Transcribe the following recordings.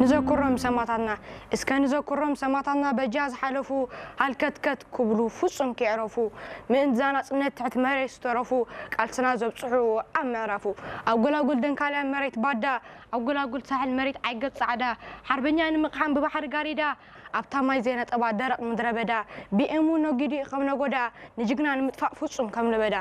ንዘክሮም ሰማታትና እስከ ንዘክሮም ሰማታትና በጃ ዝሓለፉ ሃልከትከት ክብሉ ፍጹም ከይዕረፉ ምእንቲ ዛና ጽነት ትሕቲ መሬት ዝተረፉ ቃልስና ዘብጽሑ ኣብ ምዕራፉ ኣብ ጎላጉል ደንካልያ መሬት ባዳ ኣብ ጎላጉል ሳሕል መሬት ዓይገት ጻዕዳ ሓርበኛ ንምቕሓም ብባሕሪ ጋሪዳ ኣብታ ማይ ዘይነጠባ ደረቕ ምድረ በዳ ብኤሙ ነጊዱ ከም ነጎዳ ንጅግና ንምጥፋእ ፍጹም ከም ለበዳ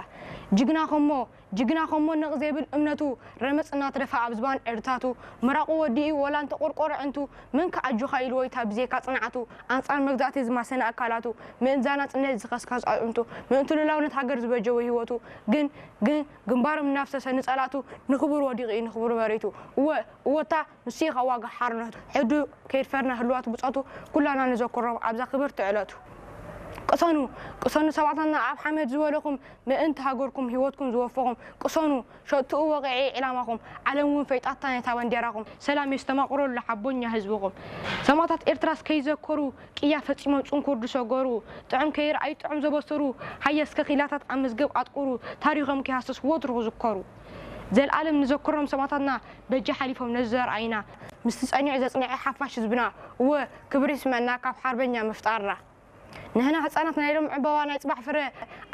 ጅግና ከሞ ጅግና ከሞ ነቕ ዘይብል እምነቱ ረመጽ እናተደፋ ኣብ ዝባን ዕርታቱ ምራቑ ወዲኡ ወላ እንተቆርቆረ ዕንቱ መን ከኣጆኻ ኢልዎ ኢታ ብዜካ ጽንዓቱ ኣንጻር መግዛእቲ ዝማሰነ ኣካላቱ ምእንዛና ጽነት ዝኸስከስ ኣጥንቱ ምእንቲ ሉላውነት ሃገር ዝበጀወ ህይወቱ ግን ግን ግንባሮም እናፍሰሰ ንጸላቱ ንኽቡር ወዲቑ እዩ ንኽቡር መሬቱ እወ እወታ ንሱ ኢኻ ዋጋ ሓርነቱ ሕዱ ከይድፈርና ህልዋት ብጾቱ ኩላና ንዘክሮም ኣብዛ ክብርቲ ዕለቱ ቅሰኑ ቅሰኑ ሰባትና ኣብ ሓመድ ዝበለኹም ምእንቲ ሃገርኩም ህይወትኩም ዝወፈኹም ቅሰኑ ሸትኡ ወቕዒ ዕላማኹም ዓለም እውን ፈይጣታ ነታ ባንዴራኹም ሰላም የስተማቕረሉ ሓቦኛ ህዝብኹም ሰማታት ኤርትራስ ከይዘከሩ ቅያ ፈጺሞም ጽንኩር ዝሰገሩ ጥዑም ከይረኣዩ ጥዑም ዘበሰሩ ሃየ እስከ ኺላታት ኣብ መዝገብ ኣጥቁሩ ታሪኾም ከይሃስስ ወትሩ ክዝከሩ ዘልኣለም ንዘክሮም ሰማታትና በጃ ሓሊፎም ነዚ ዘርኣይና ምስቲ ጸኒዑ ዘጽንዐ ሓፋሽ ህዝብና እወ ክብሪ ይስመና ካብ ሓርበኛ ምፍጣርና ንሕና ህጻናት ናይ ሎም ዕምበባ ናይ ጽባሕ ፍረ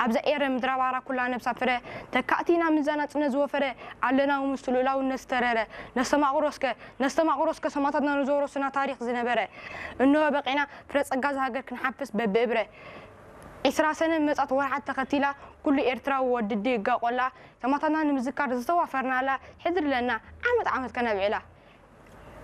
ኣብዛ ኤረ ምድራ ባራ ኩላ ነብሳ ፍረ ተካእቲ ኢና ምንዛ ናጽነት ዝወፈረ ኣለና ውምስቱ ልኡላውነት ዝተረረ ነስተማቕሮ እስከ ነስተማቕሮ እስከ ሰማታትና ንዘወረሱና ታሪኽ ዝነበረ እንሆ በቂና ፍረ ጸጋ ዝሃገር ክንሓፍስ በብእብረ ዒስራ ሰነ መጻት ወርሓት ተኸቲላ ኩሉ ኤርትራዊ ወድዲ ይጋቆላ ሰማታትና ንምዝካር ዝተዋፈርናላ ሕድሪ ለና ዓመት ዓመት ከነብዕላ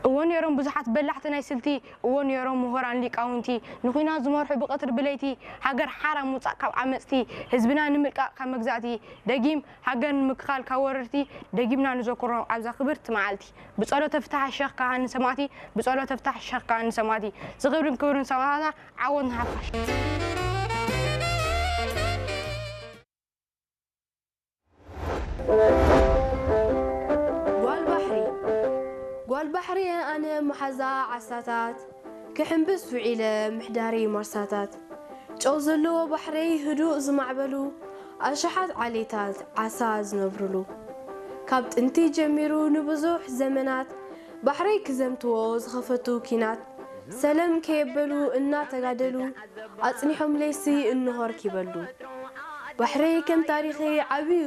እዎ ነይሮም ብዙሓት በላሕቲ ናይ ስልቲ እዎ ነይሮም ምሁራን ሊቃውንቲ ንኹናት ዝመርሑ ብቐትሪ ብለይቲ ሃገር ሓራ ምውፃእ ካብ ዓመፅቲ ህዝብና ንምልቃቕ ካብ መግዛእቲ ደጊም ሃገር ንምክኻል ካብ ወረርቲ ደጊምና ንዘክሮም ኣብዛ ክብርቲ መዓልቲ ብፀሎተ ፍትሓ ሸኽ ካህን ሰማእቲ ብፀሎተ ፍትሓ ሸኽ ካህን ሰማእቲ ዝኽብርን ክብርን ሰማእታትና ዓወት ንሓፋሽ ጓል ባሕሪ ጓል ባሕሪ ኣነ መሓዛ ዓሳታት ክሕምብስ ውዒለ ምሕዳሪ ማርሳታት ጨው ዘለዎ ባሕረይ ህዱእ ዝማዕበሉ ኣሽሓት ዓሌታት ዓሳ ዝነብርሉ ካብ ጥንቲ ጀሚሩ ንብዙሕ ዘመናት ባሕረይ ክዘምትዎ ዝኸፈቱ ኪናት ሰለም ከየበሉ እናተጋደሉ ኣጽኒሖም ለይሲ እንሆር ኪበሉ ባሕረይ ከም ታሪኸይ ዓብዩ